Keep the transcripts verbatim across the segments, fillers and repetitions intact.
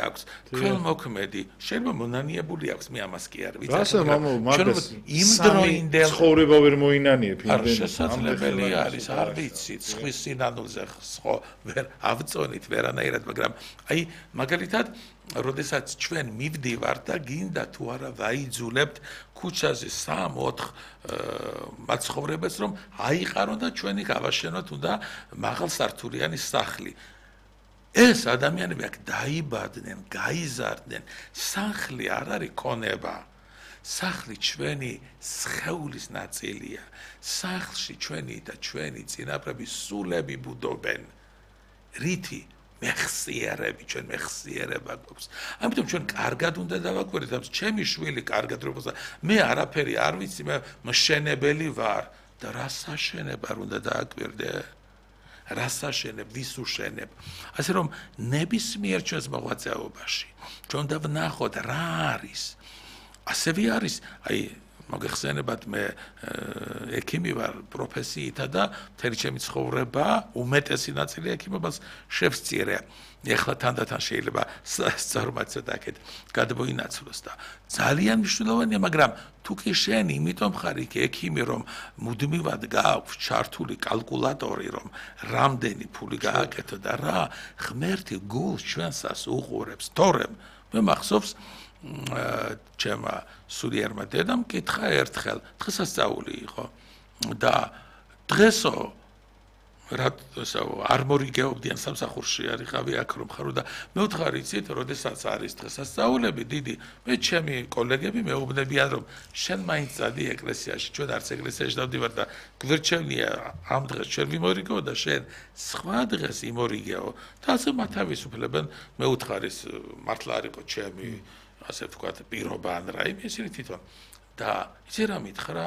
აქვს, ქველმოქმედი, შეიძლება მონანიებული აქვს, მე ამას კი არ ვიცი. რასა მამო, მაგას იმ დროინდელ ცხოვრება ვერ მოინანიებ იმდენ. არ შესაძლებელი არის, არ ვიცი, ხვის სინანულზე ხო ვერ ავწონით ვერანაირად, მაგრამ აი მაგალითად როდესაც ჩვენ მივდივართ და გინდა თუ არა ვაიძულებთ ქუჩაზე სამ ოთხ მაცხოვრებელს რომ აიყარონ და ჩვენი გავაშენოთ უნდა მაღალსართულიანი სახლი. ეს ადამიანები აქ დაიბადნენ, გაიზარდნენ, სახლი არ არის ქონება. სახლი ჩვენი სხეულის ნაწილია. სახლში ჩვენი და ჩვენი წინაპრების სულები ბუდობენ. რითი მეხსიერები, ჩვენ მეხსიერება გვაქვს. ამიტომ ჩვენ კარგად უნდა დავაკვირდეთ, ამ ჩემი შვილი კარგად როგორც მე არაფერი არ ვიცი, მე მშენებელი ვარ და რა საშენება უნდა დააკვირდე? რა საშენებ, ვის უშენებ? ასე რომ ნებისმიერ ჩვენს მოღვაწეობაში ჩვენ უნდა ვნახოთ რა არის. ასევე არის, აი მოგეხსენებათ მე ექიმი ვარ პროფესიითა და მთელი ჩემი ცხოვრება უმეტესი ნაწილი ექიმობას შევსწირე. ეხლა თანდათან შეიძლება სწორმად ცოტაკეთ გადმოინაცვლოს და ძალიან მნიშვნელოვანია, მაგრამ თუ კი შენ იმიტომ ხარ იქ ექიმი რომ მუდმივად გააქვს ჩართული კალკულატორი რომ რამდენი ფული გააკეთო და რა ღმერთი გულს ჩვენსას უყურებს, თორემ მე მახსოვს ჩემმა სულიერმა დედამ კითხა ერთხელ დღესასწაული იყო და დღესო რატო არ მორიგეობდიან სამსახურში არიყავი აქ რომ ხარო და მე ვთხარი იცით როდესაც არის დღესასწაულები დიდი მე ჩემი კოლეგები მეუბნებიან რომ შენ მაინც წადი ეკლესიაში ჩვენ არც ეკლესიაში დავდივარ და გვერდჩევნია ამ დღეს ჩვენ ვიმორიგეო და შენ სხვა დღეს იმორიგეო და ასე მათავისუფლებენ მე ვთხარის მართლა არისო ჩემი ასე ვთქვათ პირობა ან რაიმე ისინი თვითონ და იცი რა მითხრა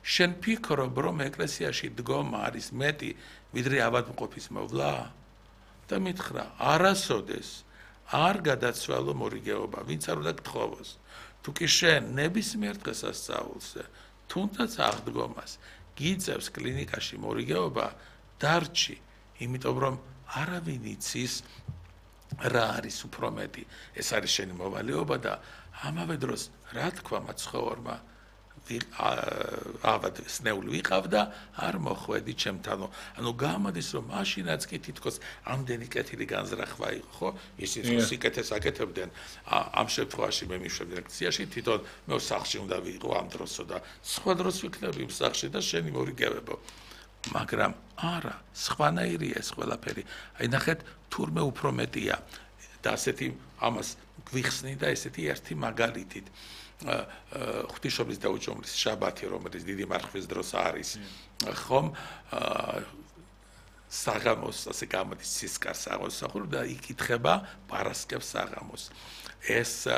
შენ ფიქრობ რომ ეკლესიაში დგომა არის მეტი ვიდრე ავადმყოფის მოვლა და მითხრა არასოდეს არ გადაცვალო მორიგეობა ვინც არ უნდა გთხოვოს თუ კი შენ ნებისმიერ დღესასწაულზე თუნდაც აღდგომას გიწევს კლინიკაში მორიგეობა დარჩი იმიტომ რომ არავინ იცის რა არის უფრო მეტი ეს არის შენი მოვალეობა და ამავე დროს რა თქვა მაცხოვრმა ავად სნეული ვიყავდა არ მოხვედი ჩემთანო ანუ გამოდის რომ მაშინაც კი თითქოს ამდენი კეთილი განზრახვა იყო ხო ისინი ხო სიკეთეს აკეთებდნენ ამ შემთხვევაში მე მიშვები ლექციაში თვითონ მე სახლში უნდა ვიყო ამ დროსო და სხვა დროს ვიქნები იმ სახლში და შენი მორიგებებო მაგრამ არა სხვანაირია ეს ყველაფერი აი ნახეთ თურმე უფრო მეტია და ასეთი ამას გვიხსნი და ესეთი ერთი მაგალითით ღვთისმშობლის დაუჯომლის შაბათი რომელიც დიდი მარხვის დროს არის ხომ საღამოს ასე გამოდის სისკარ საღამოს და იკითხება პარასკევს საღამოს ეს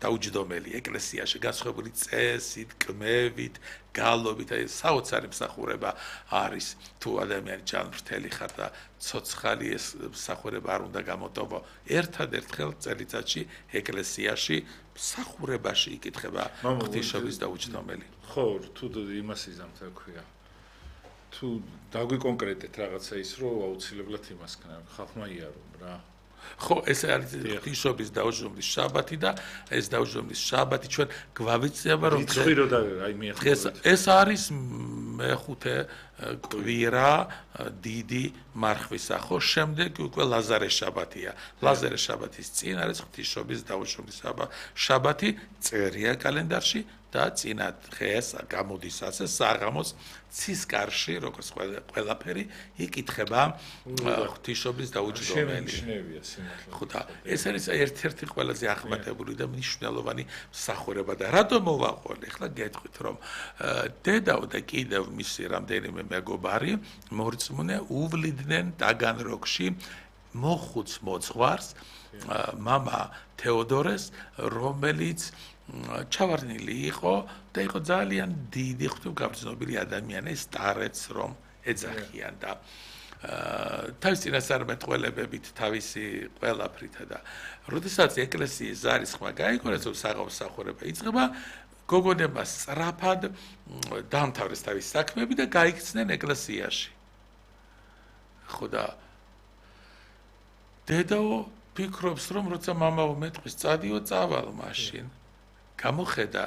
დაუჯდომელი ეკლესიაში განსხვავებული წესით, კმევით, გალობით, აი საოცარი მსახურება არის თუ ადამიანი ჯანმრთელი ხარ და ცოცხალი ეს მსახურება არ უნდა გამოტოვო. ერთადერთხელ წელიწადში ეკლესიაში მსახურებაში იკითხება ღვთისმშობლის დაუჯდომელი. ხო, თუ იმას იზამთ რა ქვია. თუ დაგვიკონკრეტეთ რაღაცა ის რომ აუცილებლად იმას ქნა ხალხმა იარო რა. ხო, ეს არის ღვთისმშობლის დაუჯდომლის შაბათი და ეს დაუჯდომლის შაბათი ჩვენ გვავიწება რომ რიცხვირო და აი მიეხურეთ. ეს არის მეხუთე კვირა დიდი მარხვისა, ხო, შემდეგ უკვე ლაზარეს შაბათია. ლაზარეს შაბათის წინ არის ღვთისმშობლის დაუჯდომლის შაბათი, წერია კალენდარში და წინა დღეს გამოდის ასე საღამოს ცისკარში, როგორც ყველაფერი იკითხება ღვთისმშობლის დაუჯდომელი. ხო და ეს არის ერთ-ერთი ყველაზე ახმატებული და მნიშვნელოვანი მსახურება და რატომ მოვაყოლე? ახლა გეტყვით რომ დედაო და კიდევ მისი რამდენიმე მეგობარი მორწმუნე უვლიდნენ ტაგანროგში მოხუც მოძღვარს მამა თეოდორეს რომელიც ჩავარდნილი იყო და იყო ძალიან დიდი ღვთისმგაბრძნობილი ადამიანი სტარეც რომ ეძახიან და თავის წინასწარმეტყველებებით თავისი ყველაფრითა და როდესაც ეკლესიის ზარისხმა გაიგონეს რომ საღამოს მსახურება იწყება გოგონებმა სწრაფად დაამთავრეს თავის საქმეები და გაიქცნენ ეკლესიაში. ხო და დედაო ფიქრობს რომ როცა მამაო მეტყვის წადიო წავალ მაშინ გამოხედა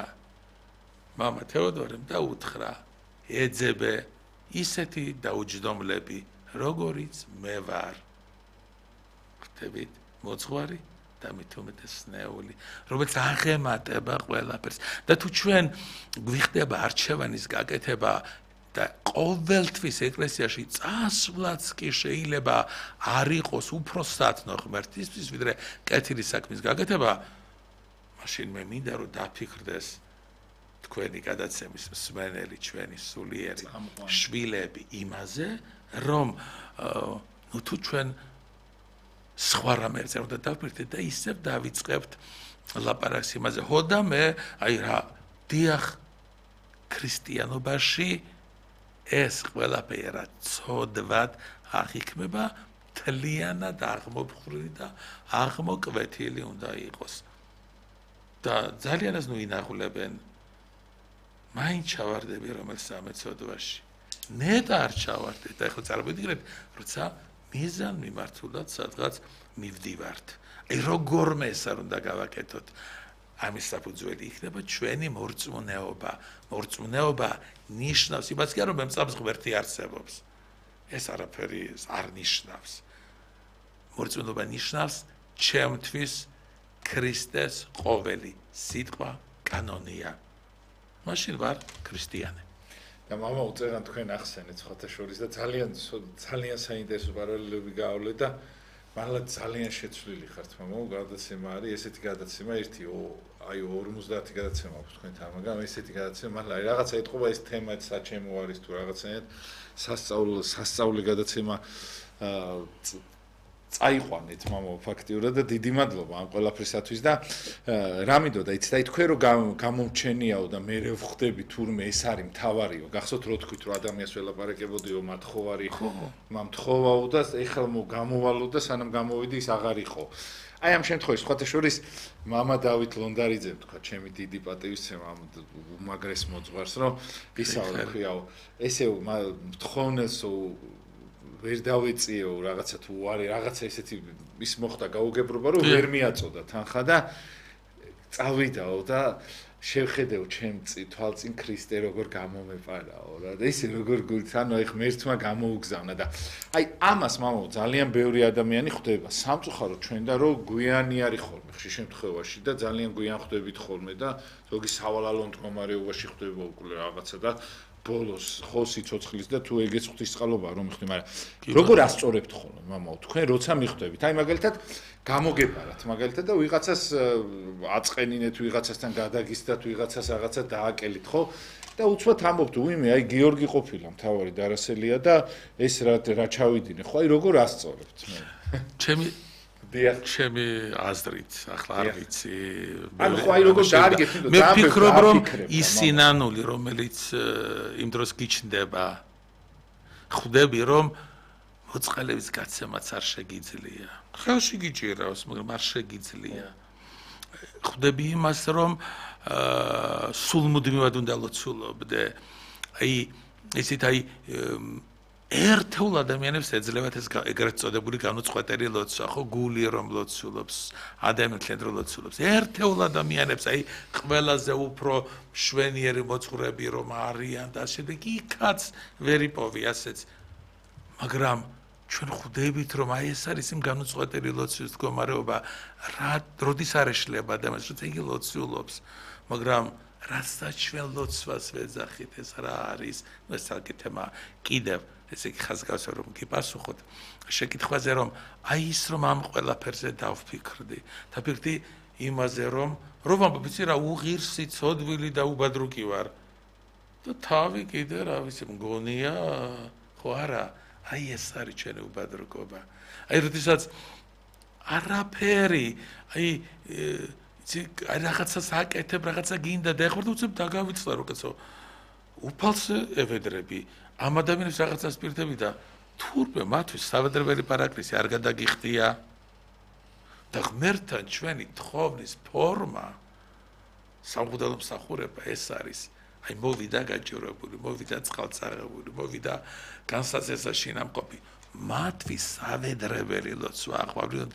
მამა თეოდორემ დაუთხრა ეძებე ისეთი დაუჯდომლები როგორიც მე ვარ ხტებით მოძღვარი და მით უმეტესნეული რომელიც აღემატება ყველაფერს და თუ ჩვენ გვიხდება არჩევანის გაკეთება და ყოველთვის ეკლესიაში წასვლაც კი შეიძლება არ იყოს უფრო სათნო ღმერთისთვის ვიდრე კეთილი საქმის გაკეთება მაშინ მე მინდა რომ დაფიქრდეს თქვენი გადაცემის მსმენელი ჩვენი სულიერი შვილები იმაზე რომ ნუ თუ ჩვენ სხვა რამეზე უნდა დავფიქრდეთ და ისევ დავიწყებთ ლაპარაკს იმაზე ხო და მე აი რა დიახ ქრისტიანობაში ეს ყველაფერი ცოდვად აღიქმება თლიანად აღმოფხვრილი და აღმოკვეთილი უნდა იყოს და ძალიანაც ნუ ინახულებენ მაინც ჩავარდები რომელ სამეცოდვაში ნეტ არ ჩავარდეთ და ახლა წარმოვიდგინეთ როცა მიზან მიმართულად სადღაც მივდივართ აი როგორმე ეს არ უნდა გავაკეთოთ ამის საფუძველი იქნება ჩვენი მორწმუნეობა მორწმუნეობა ნიშნავს იმას კი რომ მემწამს ღმერთი არსებობს ეს არაფერი არ ნიშნავს მორწმუნეობა ნიშნავს ჩემთვის ქრისტეს ყოველი სიტყვა კანონია მაშინ ვარ ქრისტიანი და მამა უწერან თქვენ ახსენეთ სხვათა შორის და ძალიან ძალიან საინტერესო პარალელები გაავლე და მართლა ძალიან შეცვლილი ხართ მამა გადაცემა არის ესეთი გადაცემა ერთი აი ორმოცდაათი გადაცემა აქვს თქვენთან მაგრამ ესეთი გადაცემა მართლა აი რაღაცა ეთყობა ეს თემაც საჩემო არის თუ რაღაცნაირად სასწავლო სასწავლე გადაცემა წაიყვანეთ მამა ფაქტიურად და დიდი მადლობა ამ ყველაფრისათვის და რა მინდოდა იცით აი თქვენ რომ გამომჩენიაო და მე ვხვდები თურმე ეს არის მთავარიო გახსოვთ რო თქვით რომ ადამიანს ველაპარაკებოდიო მათხოვარი მამთხოვაო და ეხლა გამოვალო და სანამ გამოვიდი ის აღარ იყო აი ამ შემთხვევაში სხვათა შორის მამა დავით ლონდარიძემ თქვა ჩემი დიდი პატივისცემა ამ უმაგრეს მოძღვარს რომ ისაუბრე ხიაო ესე მთხოვნელსო ვერ დავეწიეო რაღაცა თუ არის რაღაცა ესეთი ის მოხდა გაუგებრობა რომ ვერ მიაწოდა თანხა და წავიდაო და შევხედეო ჩემ თვალწინ ქრისტე როგორ გამომეპარაო რა და ისე როგორ გულით ანუ აი ღმერთმა გამოუგზავნა და აი ამას მამაო ძალიან ბევრი ადამიანი ხვდება სამწუხაროდ ჩვენ და რომ გვიანი არის ხოლმე ხშირ შემთხვევაში და ძალიან გვიან ხვდებით ხოლმე და ზოგი სავალალო მდგომარეობაში ხვდება უკვე რაღაცა და ბოლოს ხო სიცოცხლის და თუ ეგეც ღვთისწყალობაა რომ მიხდი მაგრამ როგორ ასწორებთ ხოლმე მამაო თქვენ როცა მიხვდებით აი მაგალითად გამოგებარათ მაგალითად და ვიღაცას აწყენინეთ ვიღაცასთან გადაგისდათ ვიღაცას რაღაცა დააკელით ხო და უცბად ამბობთ უიმე აი გიორგი ყოფილა მთავარი დარასელია და ეს რა რა ჩავიდინე ხო აი როგორ ასწორებთ მე ჩემი ჩემი აზრით ახლა არ ვიცი ანუ ხო აი როგორ დაარგეთ მე ვფიქრობ რომ ის სინანული რომელიც იმ დროს გიჩნდება ხვდები რომ მოწყალების გაცემაც არ შეგიძლია ხელში გიჭირავს მაგრამ არ შეგიძლია ხვდები იმას რომ სულმუდმივად უნდა ლოცულობდე აი ისეთ აი ერთეულ ადამიანებს ეძლებათ ეს ეგრეთ წოდებული განუწყვეტელი ლოცვა, ხო, გული რომ ლოცულობს, ადამიანთან რომ ლოცულობს. ერთეულ ადამიანებს, აი, ყველაზე უფრო მშვენიერი მოძღვრები რომ არიან და ასე და იქაც ვერ იპოვი ასეც. მაგრამ ჩვენ ხვდებით რომ აი ეს არის იმ განუწყვეტელი ლოცვის მდგომარეობა, რა როდის არ ეშლება ადამიანს, როცა იგი ლოცულობს, მაგრამ რასაც ჩვენ ლოცვას ვეძახით, ეს რა არის? ნუ ეს საკითხება კიდევ ესე იგი ხაზგასო რომ გიპასუხოთ შეკითხვაზე რომ აი ის რომ ამ ყველაფერზე დავფიქრდი დაფიქრდი იმაზე რომ რომ ამბობიცი რა უღირსი ცოდვილი და უბადრუკი ვარ და თავი კიდე რა ვიცი მგონია ხო არა აი ეს არის ჩვენი უბადრუკობა აი როდესაც არაფერი აი იცი რაღაცას აკეთებ რაღაცა გინდა და ეხლა უცებ დაგავიწყდა როკეცო უფალს ევედრები ამ ადამიანებს რაღაცას პირდები და თურმე მათთვის სავედრებელი პარაკლისი არ გადაგიხდია და ღმერთთან ჩვენი თხოვნის ფორმა სამღვდელო მსახურება ეს არის აი მოვიდა გაჭირებული მოვიდა წყალწარღებული მოვიდა განსაცდელსა შინამყოფი მათთვის სავედრებელი ლოცვა აყვავლიო და